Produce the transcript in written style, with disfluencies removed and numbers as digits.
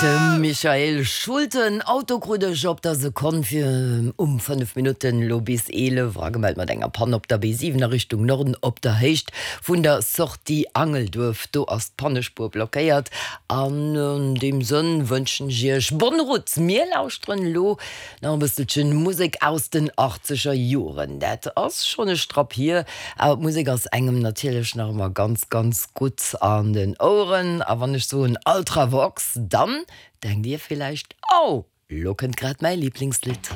De Michael Schulte, Auto krut ech op der Sekonn fir um 5 Minutten elo bis 11 agemellt mat enger Panne op der B7 a Richtung Norden op der Héicht vun der Sortie Angelduerf. Do ass d'Pannespuer blockéiert. An deem Sënn wënschen ech iech bonne route. Mir lauschteren elo Nach e bësselchen Musek aus den achtzeger Joren. Dat ass schonn e Strapp hier, awer d'Musek ass engem natierlech nach ëmmer ganz, ganz gutt an den Oueren. A wann ech soen Ultravox, dann denkt dir villäicht, Oh, lo kënnt grad mäi Liblingslidd.